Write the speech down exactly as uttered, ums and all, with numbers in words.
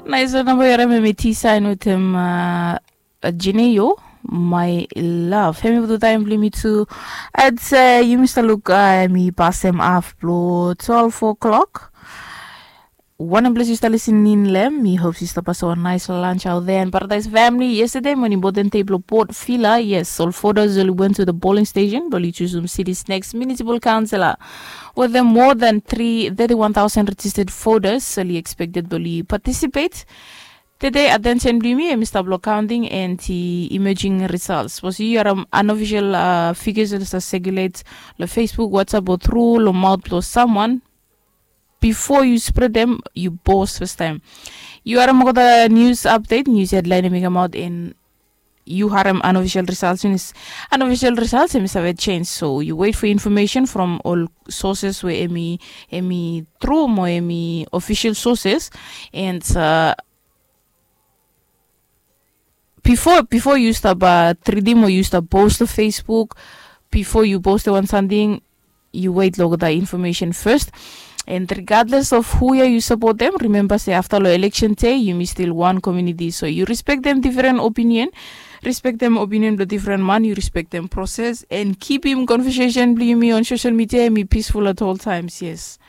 Nais wan namba yu harim em i T Sign wetem Jineo, My Love. Hemi putum taem blong yumi tu. I'd say yumi stap luk, hemi pasem haf blong twelve o'clock. Wanem ples yu stap lisin in long hem, mi hop yu stap pasem wan nais lunch out there in Paradise family. Yestade mo important dei blong Port Vila. Yes, ol voters oli went to the polling station blong oli jusum city's next municipal councillor. Wetem more than three thirty-one thousand registered voters oli expected blong oli participate. Tede attention blong yumi hemi stap long counting and the emerging results. Sapos yu harim unofficial figures oli stap circulate long Facebook, WhatsApp o through long mouth blong someone, before yu spread them, yu pause first time. Yu harim olgeta news update, news headline hemi kamaot, and yu harim unofficial results, means unofficial results hemi save change. So yu wait for information from ol sources we hemi hemi true mo hemi official sources. And uh, before before yu stap uh, treatim o yu stap post long Facebook, before yu post wan samting, yu wait long olgeta information first. And regardless of hu ya yu support them, remember se afta long election day yumi still one community, so yu respect them different opinion. Respect them opinion blong different man, yu respect them process and keepim conversation blong yumi on social media hemi peaceful at all times. Yes.